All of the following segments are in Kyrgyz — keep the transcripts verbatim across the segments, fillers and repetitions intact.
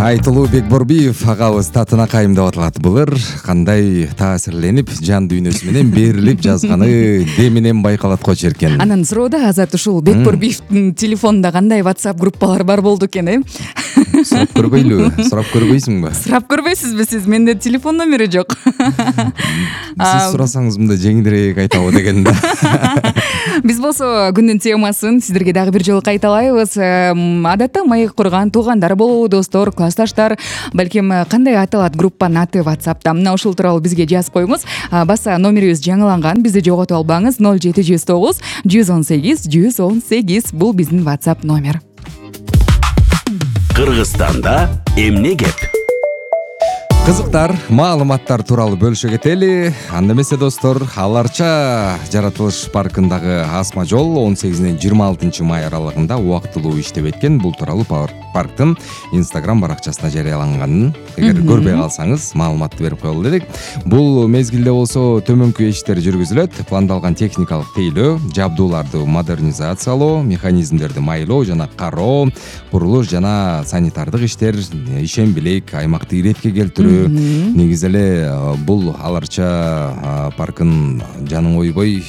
Айтылуу Бекборбиев агабыз татына кайымдап атылат. Былыр кандай таасирленип, жан дүйнөсү менен берилип жазганы деминен байкалат го черкен. Анан суроода Азат ушул Бекборбиевдин телефонунда кандай WhatsApp группалар бар болду экен, э? Сурап көрбөйлүбү? Сурап көрбөйсүңбү? Сурап көрбөйсүзбү сиз? Менде телефон номери жок. Сиз сурасаңыз мындай жеңилирээк айтабы деген да. Биз болсо күндүн темасын сиздерге дагы бир жолу кайталайбыз. Адатта маек курган туугандар болобу, достор, классташтар, балким кандай аталат группанын аты WhatsApp'та. Мына ушул тууралуу бизге жазып коюңуз. Баса номерибиз жаңыланган, бизди жоготуп албаңыз. ноль жети жүз тогуз жүз он сегиз жүз он сегиз бул биздин WhatsApp номер. Кыргызстанда эмне кеп? Кызыктар, маалыматтар тууралуу бөлүшө кетели. Анда эмесе достор, Аларча жаратылыш паркындагы асма жол он сегизинен жыйырма алтынчы май аралыгында убактылуу иштеп эткен. Бул тууралуу парктын Instagram баракчасына жарыяланганын эгер көрбөй калсаңыз маалыматты берип коелу дедик. Бул мезгилде болсо төмөнкү иштер жүргүзүлөт. Пландалган техникалык тейлөө, жабдууларды модернизациялоо, механизмдерди майлоо жана кароо, курулуш жана санитардык иштер, ишембилик, аймакты иретке келтирүү. Негизи эле бул Аларча паркын жаның ойбой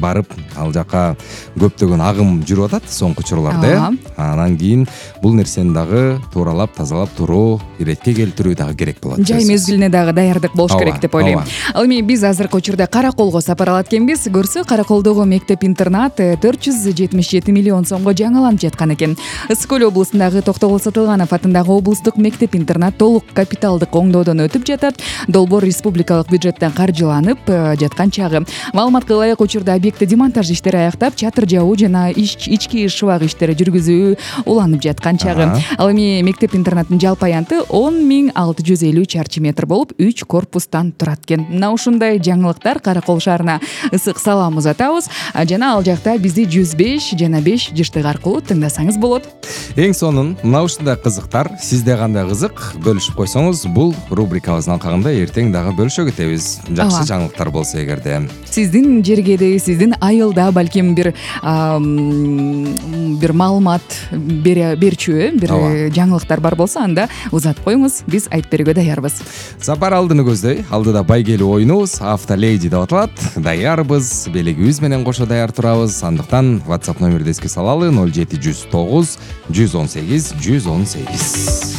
барып ал жака көптөгөн агым жүрүп атат соңку учурларда. Анан кийин бул нерсени дагы тууралап, тазалап туруу, иретке келтирүү дагы керек болот. Жай мезгилине дагы даярдык болуш керек деп ойлойм. Ал эми биз азыркы учурда Караколго сапар алат экенбиз. Көрсө, Караколдогу мектеп-интернат төрт жүз жетимиш жети миллион сомго жаңыланып жаткан экен. Ысык көл облусундагы Токтогул Сатылганов атындагы облустук мектеп-интернат толук капиталдык оңдоодон өтүп жатат. Долбоор республикалык бюджеттен каржыланып жаткан чагы. Маалыматка ылайык учурда объектте демонтаж иштери аяктап, чатыр жабуу жана ички шыбак иштери жүргүзүү уланып жаткан чагы. Ал эми мектеп-интернаттын жалпы аянты он миң алты жүз элүү чарчы метр болуп, үч корпустан турат экен. Мына ушундай жаңылыктар Каракол шаарына ысык салам узатабыз. Жана ал жакта бизди жүз беш жана беш жыштык аркылуу тыңдасаңыз болот. Эң сонун мына ушундай кызыктар сизде кандай кызык бөлүшүп койсоңуз, бул рубрикабыздын алкагында эртең дагы бөлүшө кетебиз. Жакшы жаңылыктар болсо эгерде. Сиздин жергеде, сиздин айылда балким бир бир маалымат берчү, бир жаңылыктар бар болсо, анда узатып коюңуз, биз айтып берүүгө даярбыз. Сапар алдыны көздөй, алдыда байгелүү оюнубуз Автоледи деп аталат. Даярбыз, белегибиз менен кошо даяр турабыз. Андыктан WhatsApp номерди эске салалы: ноль жети жүз тогуз жүз он сегиз жүз он сегиз.